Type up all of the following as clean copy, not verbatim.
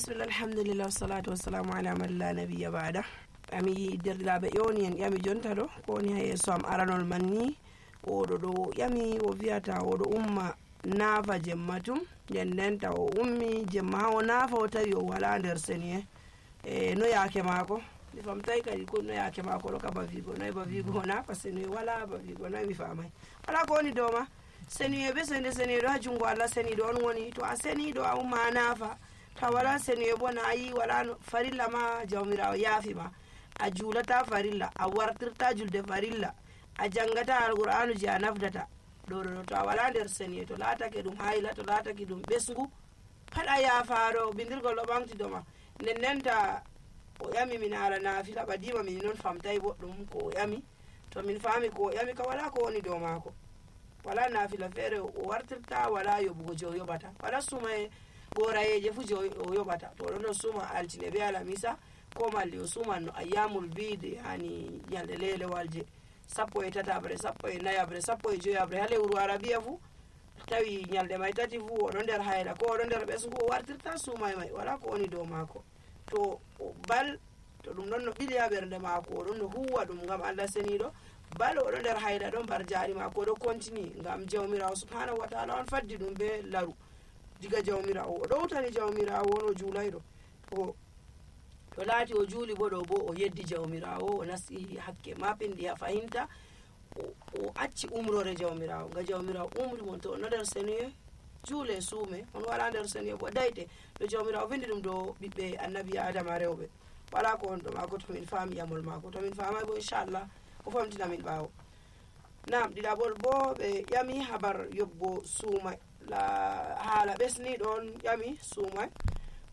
bismillah alhamdulillah wassalatu wassalamu ala man la nabiyya ba'da. Ami derɗiraɓe ƴewni en ƴami jonta ɗo ko woni ha yeeso am aranol man ni oɗo ɗo ƴami o wiyata oɗo umma naafa jemma tum nden ndenta o ummi jemma ha o naafa o tawi o wala nder seni no yaake maako mi famtai kadi ko no yaake maako ɗo ka ba wigo noy ba wigo o naafa seni wala ba wigo noy mi famai wala ko woni dow ma seni be sende seni ɗo ha jungo Allah seni ɗo on woni to a seni ɗo a umma a naafa ta wala seni bo na yi wala farilla ma jawmirawo yaafi ma a julata farilla a wartirta julde farilla a jangata alqur'anu je a nafdata ɗo to a wala nder seni to laatake ɗum hayla to laatake ɗum ɓesgu pat a yaafaɗo bindirgol ɗo ɓamti doma nden ndenta o ƴami min haala naafila ɓadima min noon famtayi boɗɗum ko o ƴami to min faami ko o ƴami ka wala ko woni dow maako wala naafila feere o wartirta wala yoɓugo je o yoɓata wala suma e gorayeje fu je o yoɓata to ɗon no suma altine be alamisa ko malli o suman no ayyamul bide yani ñalɗe lelewal je 17 14 15 ha lewru arabiya fu tawi ñalɗe may tati fu oɗo nder hayla ko oɗo nder ɓesgu o wartirta sumay may wala ko woni dow maako to bal to ɗum ɗon no ɓili ha ɓernde maako oɗon no huwa ɗum ngam Allah seniɗo bal oɗo nder hayla ɗon bar jaari maako oɗo continue ngam jawmirawo subhanahu wa ta'ala on faddi ɗum be laru diga jawmirawo o ɗowtani jawmirawo on o juulayɗo to laati o juuli bo ɗo bo o yeddi jawmirawo o nasti hakke maɓɓindi ha fahinta o acci umrore jawmirawo nga jawmirawo umri mon to onno nder seniye juule suume on wala nder seniye bo dayte ɗo jawmirawo vindi ɗum ɗo ɓiɓɓe annabi adama rewɓe wala ko on ɗo maako to min faami yamol maako to min famay bo inchallah o famtina min ɓaawo nam ɗiɗaɓol bo ɓe ƴami habar yobbo suumay haala ɓesni ɗon ƴami suumay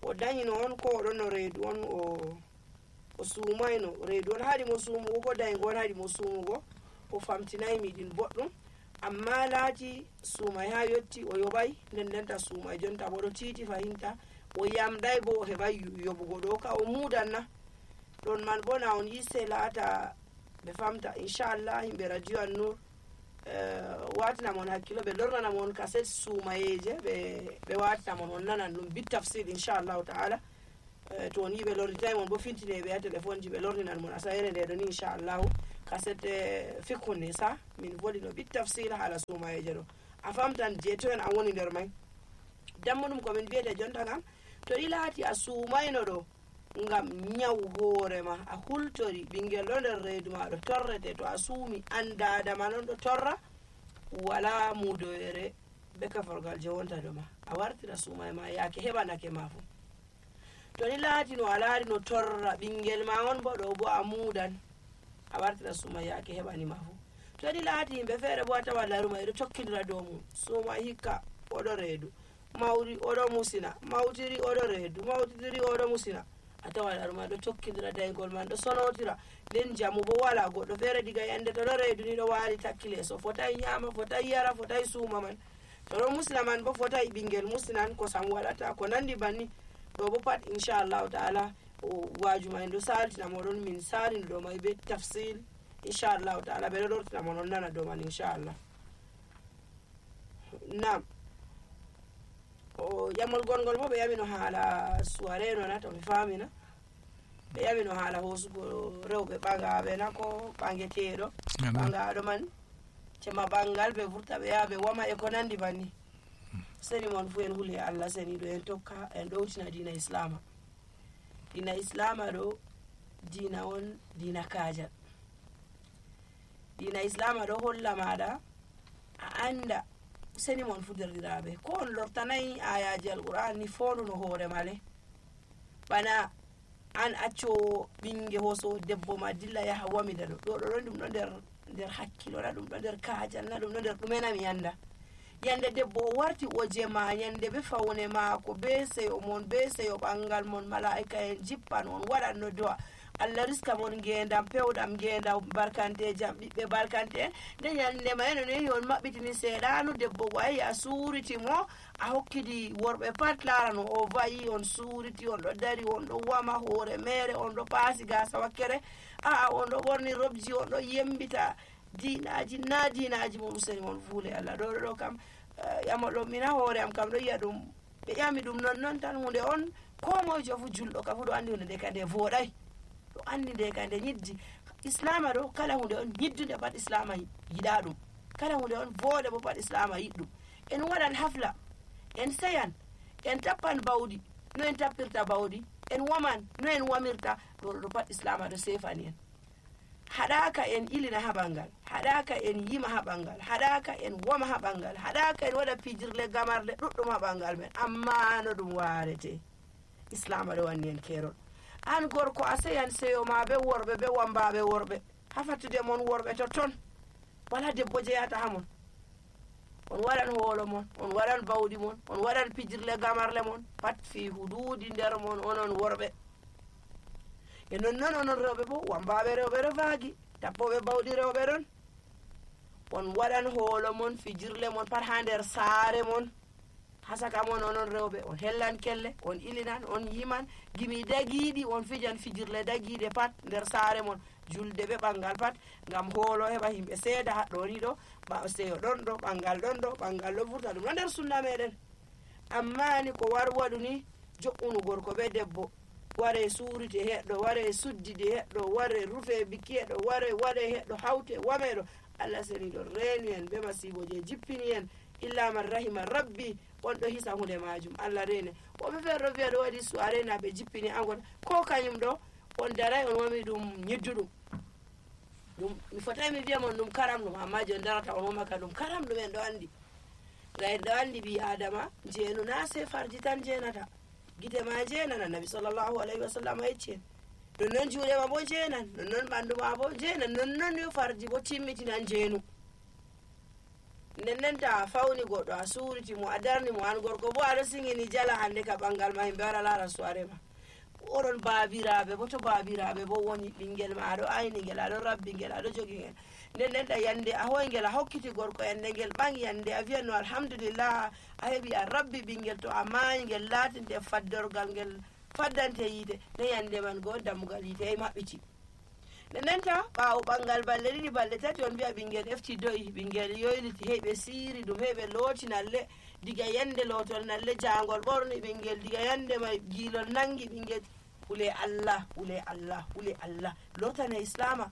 o dañino on ko oɗon no reedu on o suumayno reedu on haɗi mo suumugo ko dañgo on haɗi mo suumugo o famtinayi miɗin boɗɗum amma laati suumay ha yetti o yoɓay nden ndenta suumay jonta boɗo tiiti fahinta o yamɗay bo o heɓay yoɓugo ɗo ka o muudanna ɗon man bo na on yisse laata ɓe famta inchallah yimɓe radio an nour watinamon hakkilo ɓe lornanamon kaset suumayeje ɓe watinamon on nanan ɗum bit tafsir inchallahu taala to on yi ɓe lornitaymon bo fintineɓe ha téléphone ji ɓe lorninan mon asayere nde ɗo ni inchallahu kaset fikhu nisa min voɗi no bit tafsir haala suumayeje ɗo a famtan je to en an woni nder may dammu ɗum komin mbiyete jonta kam to ɗi laati a suumayno ɗo ngam nyawu hoorema a hultori ɓingel ɗo nder reedu ma ɗo torrete to a suumi andadama non ɗo torra wala mudoyere be kaforgal je wonta ɗo ma a wartira suumay ma yaake heɓanake ma fu to ni laati no a laari no torra ɓingel ma on bo ɗo bo a muudan a wartira suumay yaake heɓanima fu to ni laati yimɓe feere bo a tawa laruma eɗo tokkidira dow mum suumay hikka oɗo reedu mawri oɗo musina mawtiri oɗo reedu mawtidiri oɗo musina a tawa laruma ɗo tokkidira daygol man ɗo sonotira nden jamu bo wala goɗɗo feere diga yande to ɗo reedu ni ɗo waali takki leeso fotai ñaama fotai yara fotai suuma man to ɗo musina man bo fotai ɓingel musinan kosam waɗata ko nandi banni ɗo bo pat inchallahu taala waajuma en ɗo saltina moɗon min salini ɗo may be tafsil inchallahu taala ɓeɗo lortina mon on nana dow man inchallah nam o ƴamol gongol bo ɓe ƴamino haala soirée nona to mi famina ɓe ƴamino haala hoosugo rewɓe ɓagaɓe na ko ɓangeteɗo ɓagaɗo man cema ɓangal ɓe vurta ɓe yaha ɓe wama e ko nandi banni seni mon fu en huuli Allah seniɗo en tokka en ɗowtina dina islama ɗo dina on dina kajal dina islama ɗo holla maɗa a anda seni mon fu derɗiraɓe ko on lortanayi ayaji alqur'an ni fonduno hoore male bana an accowo ɓinge hoso debbo ma dilla yaha wamida ɗo ɗon ɗum ɗo nder hakkilo na ɗum ɗo nder kajal na ɗum ɗo nder ɗumenami yanda yande debbo o warti o jema yande be fawne maako be seyo mon be seyo ɓangal mon malaika en jippan on waɗanno do'a Allah riska mon ngendam pewɗam ngendam barkante jam ɓiɓɓe barkante en nde yande ma eno nehi on maɓɓitini seeɗanu debbo wayi a suuriti mo a hokkidi worɓe pat larano o vayi on suuriti on ɗo dari on ɗo wama hoore mere on ɗo paasi gasa wakkere on ɗo ɓorni robji on ɗo yembita dinaji na dinaji mo musani mon fuule Allah ɗo kam ƴamol ɗo mina hoore am kam ɗo yiya ɗum ɓe ƴami ɗum non tan hunde on ko moyejo fu julɗo ka fu ɗo andi hunde nde ka nde voɗai, ɗo andi nde ka nde ñiddi. Islama ɗo kala hunde on ñiddude pat islama yiɗa ɗum, kala hunde on voɗe bo pat islama yiɗɗum. En waɗan hafla, en seyan, en tappan bawɗi no en tappirta bawɗi, en waman no en wamirta, ɗo pat islama ɗo sefani en. haɗaka en ilina ha ɓangal, haɗaka en yima ha ɓangal, haɗaka en woma ha ɓangal, haɗaka en waɗa pijirle gamarle ɗuɗɗum ha ɓangal men, amma no ɗum warete. Islama ɗo wanni en kerol. An gorko a seyan seyo ma be worɓe be wambaɓe worɓe, ha fattude mon worɓe totton, wala debbo jeyata ha mon. On waɗan hoolo mon, on waɗan bawɗi mon, on waɗan pijirle gamarle mon, pat fi hududi nder mon onon worɓe. E nonnon onon rewɓe bo, wambaɓe rewɓe ɗo vaagi, tappoɓe bawɗi rewɓe ɗon. On waɗan hoolo mon, fijirle mon pat ha nder saare mon, ha saka mon onon rewɓe. On hellan kelle, on ilinan, on yiman, gimi dagiiɗi on fijan fijirle dagiiɗe pat nder saare mon. Julde ɓe ɓangal pat ngam hoolo heɓa himɓe seeda haɗɗo ni ɗo, seyo ɗon ɗo, ɓangal ɗon ɗo, ɓangal ɗo vurta, ɗum ɗo nder sunna meɗen. Amma ni ko war waɗu ni jo'unu gorko be debbo, ware suurite heɗɗo, ware suddide heɗɗo, ware rufe biki heɗɗo, ware waɗe heɗɗo, hawte wameɗo. Allah seni ɗo reeni en be masibo je jippini en, illa man rahima rabbi, on ɗo hisa hunde majum, Allah reene. Woɓe feere ɗo wiya ɗo waɗi suare na ɓe jippini angon, ko kañum ɗo on daray on wami ɗum ñidduɗum. Ɗum mi fotai mi wiya mon ɗum karam ɗum, amma je on darata on womaka ɗum karam ɗum. En ɗo andi, en ɗo andi ɓi adama jeenu na se farji tan jeenata, gite ma jeenan. Annabi sallallahu alayhi wa sallam yecci en nonnon juuɗe ma bo jeenan, nonnon ɓandu ma bo jeenan, nonnon yo farji bo timmitinan jeenu. Nden ta fawni goɗɗo a suuriti mo, a darni mo, an gorko bo aɗo singini jala hande ka ɓangal ma himɓe wara laara suare ma. Oɗon baabiraɓe bo, to baabiraɓe bo woni ɓingel ma aɗo ayni ngel, aɗo rabbi ngel, aɗo jogi ngel, nden ta yande a hoy ngel, a hokkiti gorko, yande ngel ɓangi, yande a wiyanno alhamdulillah a heɓi a rabbi ɓingel, to a maayi ngel laatinte faddorgal ngel faddante yiite, ne yande man go dammugal yiite e maɓɓiti. Nden ta ɓaawo ɓangal balɗe ɗiɗi balɗe tati on mbiya ɓingel efti do'i, ɓingel yoyliti, heɓe siiri ɗum, heɓe looti nalle, diga yande lootol nalle jangol ɓorni ɓingel, diga yande may giilol nangi ɓingel. Hule Allah, hule Allah, hule Allah. Lotane islama,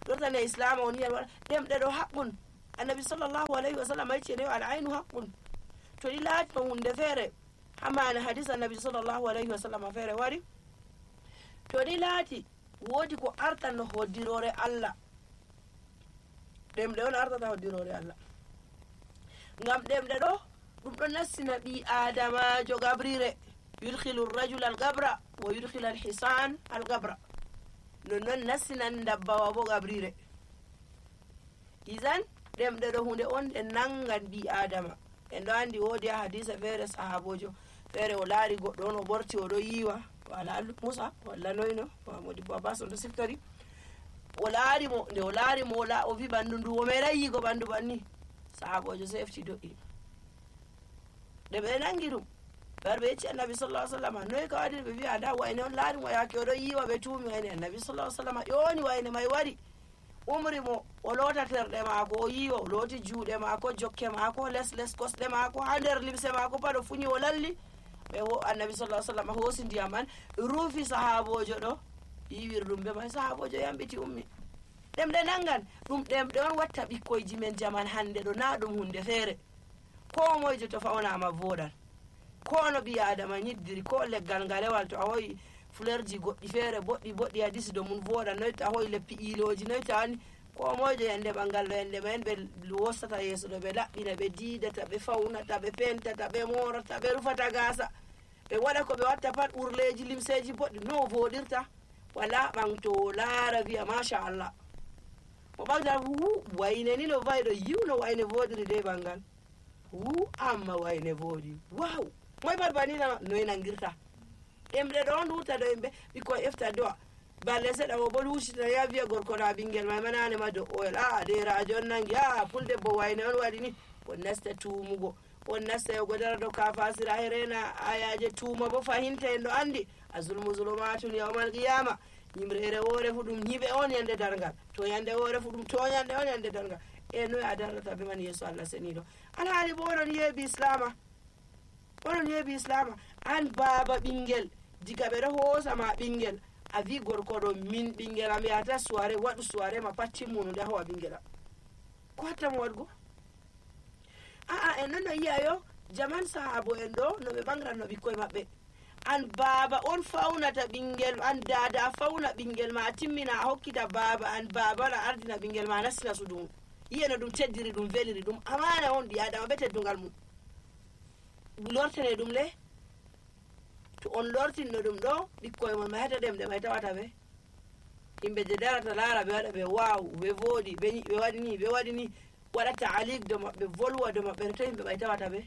lotane islama on yiyan waɗa ɗemɗe ɗo haqqun. Annabi sallallahu alayhi wa sallam yecci ne al-aynu haqqun. To ɗi laati no hunde feere, hamana hadis annabi sallallahu alayhi wa sallam feere wari, to ɗi laati woodi ko artanno hoddirore Allah, ɗemɗe on artata hoddirore Allah. Ngam ɗemɗe ɗo ɗum ɗo nassina ɓi adamajo gabrire, yudkhilu rajula al-gabra wa yudkhila al-hisan al-gabra. Nonnon nassinan dabbawa bo gabrire. Izan ɗemɗe ɗo hunde on ɗe nangan ɓi adama. En ɗo andi woodi ha hadisa feere sahabojo feere o laari goɗɗo on o ɓorti o ɗo yiiwa, wala Musa walla noyno Modibo Abbas on ɗo siftari, o laari mo, nde o laari mo o wi ɓanndu ndu o meeɗay yiigo ɓanndu banni. Sahabojo so efti do'i, nde ɓe nangi ɗum, ɓe yecci annabi sallallahu alaihi wasallam, noy ka waɗi? Ɓe wi ada wayne on laari mo yaake o ɗo yiiwa, ɓe tuumi wayne. Annabi sallallahu alaihi wasallam ƴooni wayne may wari, umri mo o loota terɗe maako, o yiiwa, o looti juuɗe maako, jokke maako, les kosɗe maako, ha nder limse maako pat o fuñi o lalli. Annabi sallallahu alaihi wasallam hoosi ndiyam man ruufi sahabojo ɗo, yiwiri ɗum be may, sahabojo yambiti ummi. Ɗemɗe nangan ɗum, ɗemɗe on watta ɓikkoyji men jaman hande ɗo, na ɗum hunde feere. Ko moyjo to fawnama voɗan, ko no ɓi adama ñiddiri, ko leggal ngalewal to a hoyi fleurji goɗɗi feere boɗɗi hadisi do mun voɗa, noy to a hoyi leppi iloji, noy to ani ko moyjo yande ɓangal ɗo yande mayen ɓe wostata yeeso ɗo, ɓe laɓɓina, ɓe diidata, ɓe fawnata, ɓe pentata, ɓe morata, ɓe rufata gasa, ɓe waɗa ko ɓe watta pat, urleji limseji boɗɗi, no voɗirta wala ɓanto laara wiya machallah, o ɓagda wayne ni no vayi ɗo yiwno wayne voɗiri de ɓangal, amma wayne voɗi, waw, moy pat banina noy nangirta. Ɗemɗe ɗo on wurta ɗo yimɓe ɓikkoy efta do'a, balle seɗa o bo lusita ya wiya gorko na ɓingel may manane ma do oyel, derajo on nangi, puldebbo wayne on waɗi ni, on nasta tuumugo, on nasta yogo dara dow kafasira herena ayaje tuuma bo fahinta en ɗo andi azulmu zulumatun yawmal qiyama. Ñimrere woore fu ɗum ñiɓe on yande darngal, to yande woore fu ɗum toñande on yande darngal. E noy a darrata be man yeeso Allah seniɗo, alhaali bo onon yeeɓi islama, onon yeeɓi islama. an baba ɓingel diga ɓe ɗo hoosama ɓingel a wi gorko ɗo min ɓingel am yahata soirée waɗu soirée ma pat timmunu nde howa ɓingel am ko hattamo waɗgo en nana yi'ayo jaman sahabo en ɗo no ɓe ɓangranno ɓikkoye maɓɓe an baba on faunata ɓingel an dada a fauna ɓingel ma a timmina a hokkita baba an baba on a ardina ɓingel ma a nastina sudu mum yi'e no ɗum teddiri ɗum veliri ɗum amana on ɓi adama be teddugal mum lortene ɗum le to on lortinno ɗum ɗo ɓikkoye mon mayata ɗem ɗe may tawata ɓe yimɓe je darata laara ɓe waɗa ɓe waw ɓe voɗi ɓe waɗi ni waɗa taalik do maɓɓe volwa do maɓɓe to yimɓe ɓay tawata ɓe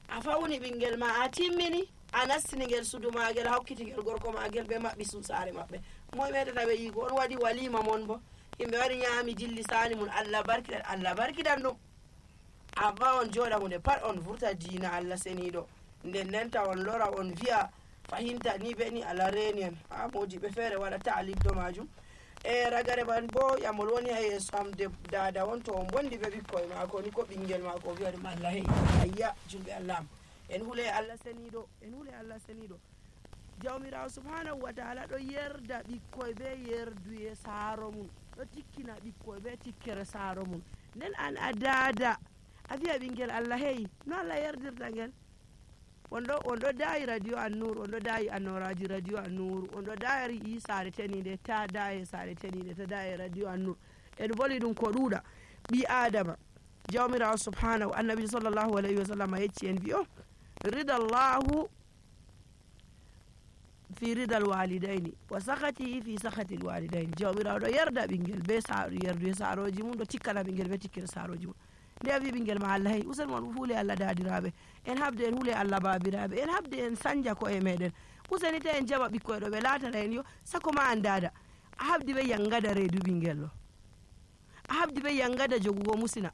a fawni ɓingel ma a timmini a nastinigel sudu magel a hokkitigel gorko magel ɓe maɓɓi saare maɓɓe moye metata ɓe yiiko on waɗi walima mon bo yimɓe waɗi ñaami dilli sani mum Allah barkiɗan ɗum amma on jooɗa hunde pat on vurta diina Allah seniɗo nden nenta on lora on wi'a fahinta ni ɓe ni Allah reni en ha mojiɓe feere waɗa taalik do majum ragare man bo yamol woni ha yeeso am dada on to on bondi ɓe ɓikkoye maako ni ko ɓingel maako o wi'a ɗum Allah hey ayya julɓe Allah am en hule Allah seniɗo jawmirawo subhanahu wa taala ɗo yerda ɓikkoye ɓe yerduye saaro mum ɗo tikkina ɓikkoye ɓe tikkere saaro mum nden an a dada a wi'a ɓingel Allah hey no Allah yerdirta ngel on ɗo dayi radio annur on ɗo dayi annoraji radio annur on ɗo dayi saare tenide ta daye saare tenide ta daye radio annur en boli ɗum ko ɗuuɗa ɓi adama jawmirawo subhanahu annabi sallllahu alayhi wa sallam yecci en wi o ridallahu fi ridal walidayni wa sakatihi fi sakati l walidayni jawmirawo ɗo yerda ɓingel be yerduye saaroji mum ɗo tikkana ɓingel be tikkere saaroji mum nde a wi ɓingel ma Allah hey usen mon huule Allah dadiraɓe en habde en huule Allah babiraɓe en habde en sanja ko e meɗen useni ta en jaɓa ɓikkoye ɗo ɓe latana en yo sako ma an dada a habdi ɓe yangada reedu ɓingel ɗo a habdi ɓe yangada jogugo musina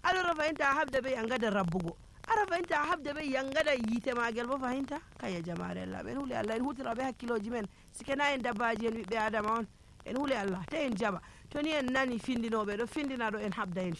alors fahinta a habda ɓe yangada rabbugo ara fahinta a habda ɓe yangada yiite magel bo fahinta kaya jamare Allah en huule Allah en hutira ɓe hakkiloji men sikena en dabbaji en ɓiɓɓe adama on en huule Allah ta en jaɓa to ni en nani findinoɓe ɗo findina ɗo en habda en